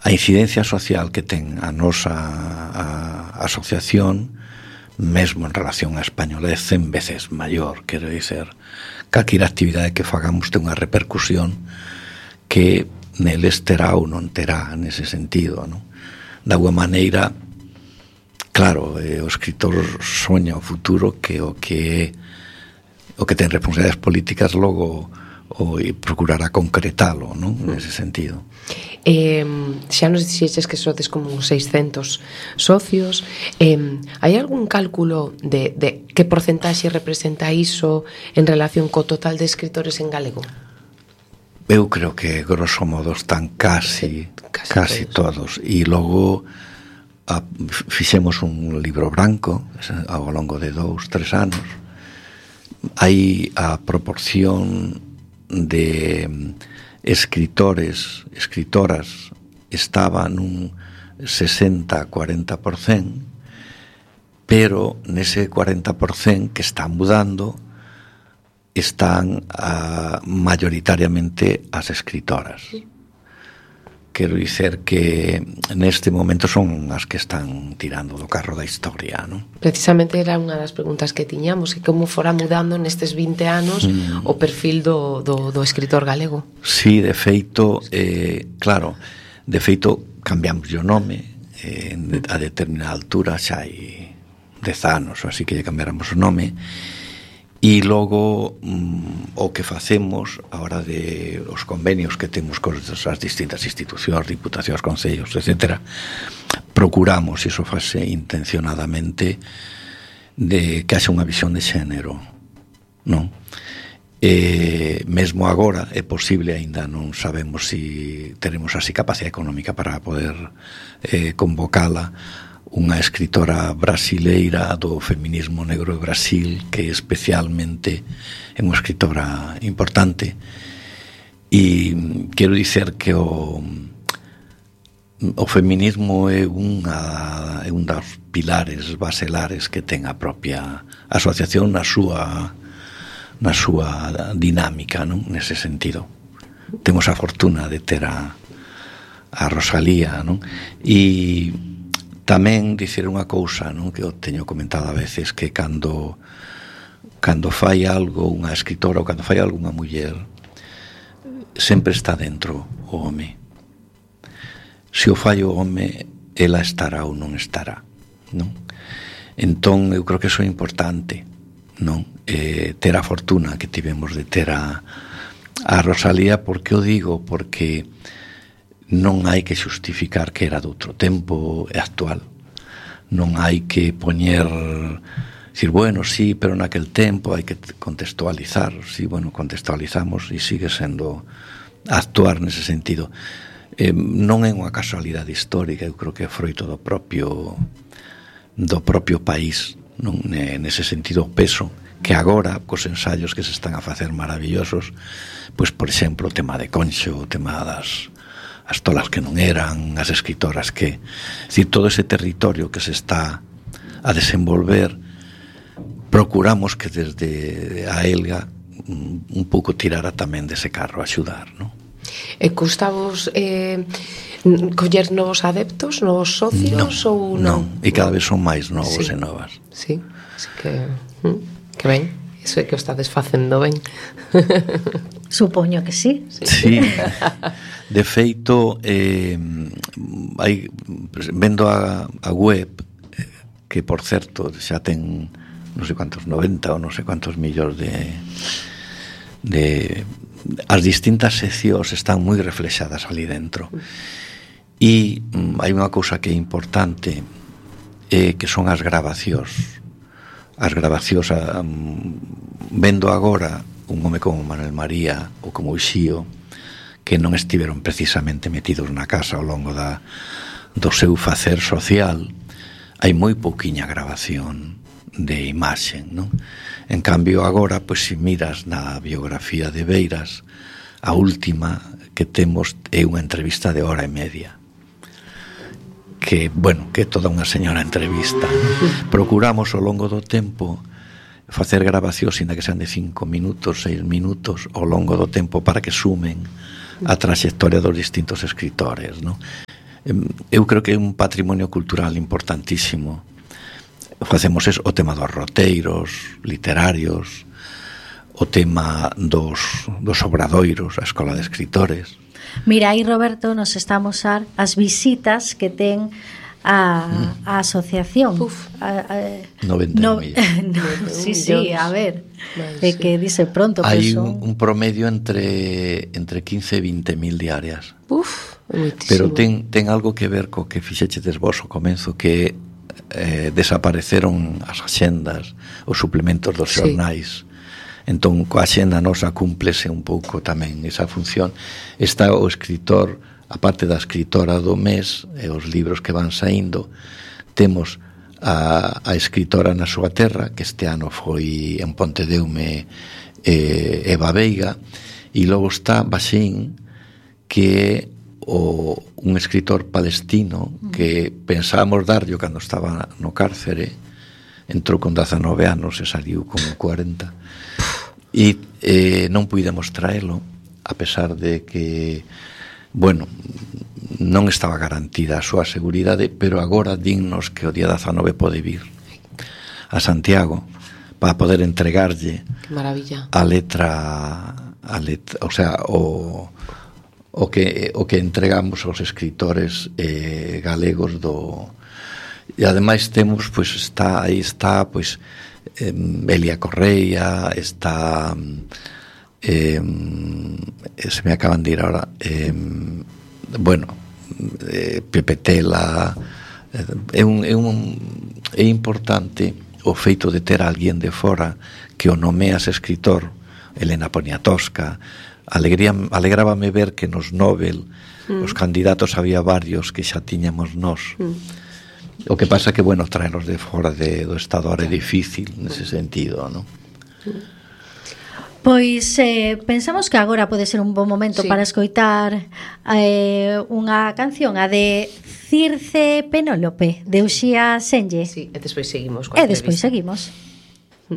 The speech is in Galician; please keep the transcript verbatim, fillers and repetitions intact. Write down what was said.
a incidencia social que ten a nosa a, a asociación, mesmo en relación á española, é cen veces maior. Quero dizer, calquera actividade que fagamos ten unha repercusión que neles terá ou non terá nese sentido, non? Da alguma maneira, claro, eh, o escritor soña o futuro que o que o que ten responsabilidades políticas logo o procurará concretalo, non? Nese sentido. Eh, xa nos dixeches que sodes como uns seiscentos socios. Eh, hai algún cálculo de, de que porcentaxe representa iso en relación co total de escritores en galego? Eu creo que grosso modo están casi casi, casi todos. todos e logo a, fixemos un libro branco ao longo de dous, tres anos. Hai a proporción de escritores, escritoras estaba nun sesenta a cuarenta por cento, pero nese cuarenta por cento que está mudando están a, mayoritariamente as escritoras. Quero dicer que neste momento son as que están tirando do carro da historia, non? Precisamente era unha das preguntas que tiñamos, que como fora mudando nestes vinte anos mm. o perfil do, do, do escritor galego. Sí, de feito, eh, claro, de feito cambiamos o nome eh, a determinada altura, xa hai dez anos, así que lle cambiáramos o nome. E logo mm, o que facemos a hora de os convenios que temos con as distintas institucións, diputacións, concellos, etcétera, procuramos, e iso fase intencionadamente, de que haxa unha visión de xénero, non? E mesmo agora é posible, aínda non sabemos se teremos así capacidade económica para poder eh, convocala, unha escritora brasileira do feminismo negro de Brasil, que especialmente é unha escritora importante, e quero dicer que o o feminismo é unha é un dos pilares baselares que ten a propia asociación na súa na súa dinámica, non? Nese sentido temos a fortuna de ter a a Rosalía, non? E tamén dicir unha cousa, non, que eu teño comentado a veces, que cando cando fai algo unha escritora ou cando fai algo unha muller, sempre está dentro o home. Se o fai o home, ela estará ou non estará, non? Entón, eu creo que iso é importante, non? Eh, ter a fortuna que tivemos de ter a, a Rosalía. Por que o digo? Porque non hai que xustificar que era de outro tempo e actual. Non hai que poñer, dicir, bueno, sí, pero naquel tempo hai que contextualizar. Sí, bueno, contextualizamos e sigue sendo actuar nese sentido. Eh, non é unha casualidade histórica, eu creo que é froito do propio do propio país, non? Nese sentido, o peso que agora, cos ensaios que se están a facer maravillosos, pois, por exemplo, o tema de Conxo, o tema das as tolas que non eran, as escritoras que... É dicir, todo ese territorio que se está a desenvolver, procuramos que desde a Elga un pouco tirara tamén dese carro a axudar, non? E custavos eh, coller novos adeptos, novos socios, non, ou non? Non, e cada vez son máis novos sí. e novas. Sí, así que... que ben, iso é que o estades facendo ben. Supoño que sí. Sí. De feito, eh, hai, vendo a, a web, que por certo xa ten non sei quantos, noventa ou non sei quantos millóns de, de as distintas seccións están moi reflexadas ali dentro. E um, hai unha cousa que é importante, eh, que son as grabacións. As grabacións, um, vendo agora un home como Manuel María ou como Uxío, que non estiveron precisamente metidos na casa ao longo da, do seu facer social, hai moi pouquiña grabación de imaxe, non? En cambio agora, pois, se miras na biografía de Beiras, a última que temos é unha entrevista de hora e media, que, bueno, que é toda unha señora entrevista, non? Procuramos ao longo do tempo facer grabacións, ainda que sean de cinco minutos, seis minutos, ao longo do tempo, para que sumen a trayectoria dos distintos escritores, non? Eu creo que é un patrimonio cultural importantísimo. Facemos eso, o tema dos roteiros literarios, o tema dos, dos obradoiros, a Escola de Escritores. Mira, aí Roberto nos está a mostrar as visitas que ten a, a asociación. Uf. A, a, noventa no, millones. no, sí, sí, a ver, é que dice pronto. Hai pues, un, un promedio entre entre quince e vinte mil diarias. Uf, moitísimo. Pero ten, ten algo que ver co que fixechedes vos ao comenzo, que eh, desapareceron as axendas, os suplementos dos Sí. xornais. Entón, coa axenda nosa cúmplese un pouco tamén esa función. Está o escritor, a parte da escritora do mes, e os libros que van saindo, temos a, a escritora na súa terra, que este ano foi en Pontedeume eh, Eva Veiga, e logo está Baxín, que é o, un escritor palestino que pensábamos darlle cando estaba no cárcere, entrou con dezanove anos e saliu con cuarenta, e eh, non puidemos traelo, a pesar de que, bueno, non estaba garantida a súa seguridade, pero agora dinnos que o día dezanove pode vir a Santiago para poder entregarlle Que maravilla. a letra, a letra, o sea, o o que o que entregamos aos escritores eh, galegos do. E ademais temos, pois está aí está, pois eh, Elia Correia, está eh, se me acaban de ir ahora eh, bueno, eh, Pepe Tela, eh, é un é un é importante o feito de ter a alguén de fora que o nomeas escritor. Elena Poniatowska. Alegría, alegrábame ver que nos Nobel mm. os candidatos había varios que xa tiñamos nós. Mm. O que pasa que, bueno, traenos de fora de, do Estado ahora é difícil nese sentido, non? Pois eh, pensamos que agora pode ser un bon momento Sí. para escoitar eh, unha canción, a de Circe Penólope, de Uxía Senlle. Sí, e despois seguimos coa E despois entrevista. seguimos.